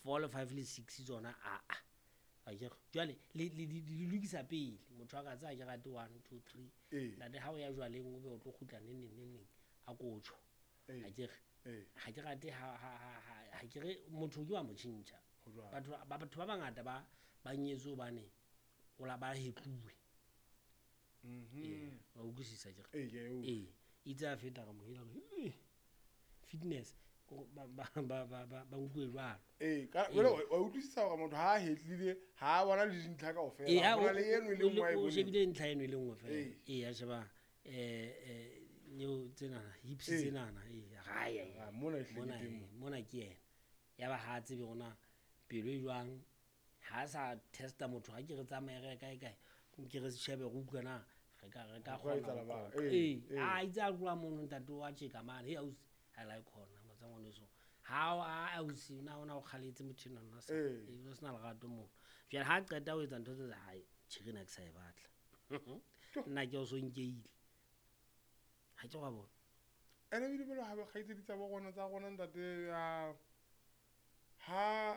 4 le 5 le 6 tsona a a akere jwale le di lokisa pele. Motho a ka tsaya ke rate 1 2 3. Ntate, ha o ya jwaleng, o be o tlo kgutla neng neng neng neng, a ko tjho. Akere ha ke rate ha ke re motho ke wa mo tjhentjha. Ho jwalo. Batho ba bangata ba nyetswe hobane o la ba hetluwe. Ee, wa utlwisisa akere? Ee, ke a e utlwa. Ee, itse a feta re mo hela re, fitness ba nkuwe jwalo. Ee, ka jwale wa utlwisisa hore motho ha a hetlile, ha a bona le dintlha kaofela. Ee, ha Ho na le eno e le nngwe a e o boneng. Shebile ntlha eno e le nngwe fela. Ee. Ee, a sheba neo tsenana, hips tsenana, ee, Ah, mona e hlile mona teng mo. Mona ke yena. Ya ba ha a tsebe hore na pelo e jwang, ha a sa testa motho, ha ke re tsamaye re ye kae kae, nke re shebe re utlwe na re ka Ho ka kgona etsahala ho ba- qoqa. Ee, Ee, ee. a itse a tloha mono, ntate wa tjeka mane, hey ausi, I like hona motsa ngwaneso. Ha o a ausi na ona o kgaletse motho enwa nna sa. Ee. Ee, o sena lerato mono. Jwale ha qeta ho etsa ntho tse tsa hae, tjhe na ke sa e batla. Nna ke o so nkeile. Ha ke wa bona. Ene ebile jwale ha kgaitsedi tsa bo rona tsa rona, ntate, ha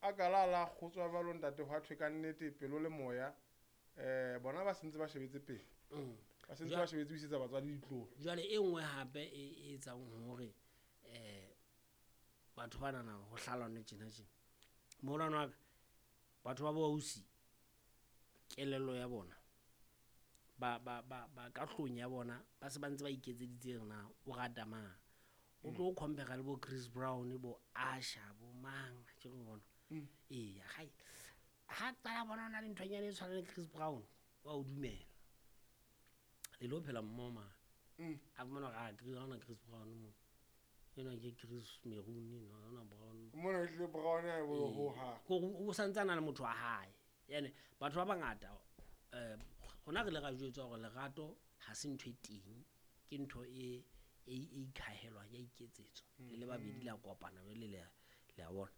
a ka la kgotswa jwalo, ntate, hwa thwe ka nnete pelo le moya, bona ba sentse ba shebetse pele. Ba sentse ba shebetse ho isetsa batswadi ditlolo. Jwale e nngwe hape e etsang hore batho ba nana ho hlalane tjena tjena. Moholwane wa ka, batho ba bo ausi, kelello ya bona ba ka hlong ya bona, ba se ba ntse ba iketseditse hore na o rata mang. O tlo compare le bo Chris Brown, bo Usher, bo mang, ke re bona. Ee, hai. Ha qala bona ona le nthonyana e tshwanang le Chris Brown, wa o dumela. Le lo phela mmoho mane. A fumana hore, ah, Chris, ha hona Chris Brown mo. Enwa ke Chris Maroon enwa, ha hona Brown mo. Mona e hlile Brown ha e bolo Ee. ho hang. Kore o santsane a le motho wa hae. Ene batho ba bangata, rona re ile ra jwetswa hore lerato ha se ntho e teng, ke ntho e ikhahelwang, ya iketsetswa. Le le babedi la kopana jwale le a bona.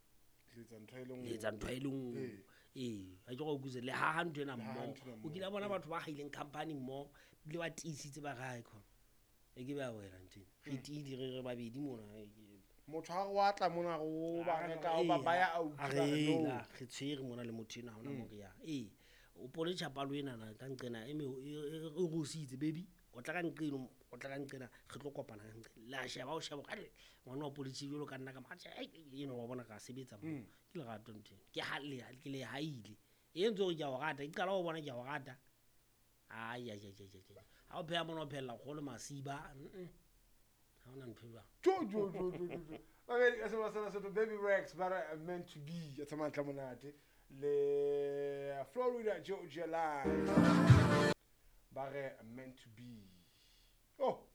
Le etsa ntho e le nngwe. Le etsa ntho e le nngwe. Ee. Ee, ha ke re o utlwisise, le haha ntho ena Le haha mmoho. ntho ena O kile mmoho, bona ee. batho ba haileng company mmoho, ebile ba tiisitse ba re, "Hai khona." E ke be a wela ntho ena. Re tiile re babedi mona. Motho ha re wa tla mona re o ba Ah, reka, o ba ee, baya a utlwa a re re no. la, re tshwere mona le motho enwa, ha hona moo re yang. Ee, o pone tjhapalo enana ka nqena e e rusitse, baby. O tla ka nqeno, o tla ka nqena, re tlo kopana ka nqena. La sheba, o sheba, hore, ngwana wa polisi jwalo ka nna ka mo, atjhe, ai, eno wa bona ra sebetsa mo. Ke lerato ntho eno. Ke ha le, ke le haile. E entse hore ke a o rata, ke qala ho bona ke a o rata. Ai, ai, ai, ai, ai, ai. Ha o pheha mona o phehella kgolo masiba. Ha hona ntho e jwalo. Jo, jo, jo, jo, jo, jo. Okay, ka seba sena Baby Rex, ba re meant to be, ya tsamaya ntle monate. Le Florida Georgia Line. Ba re meant to be. Oh.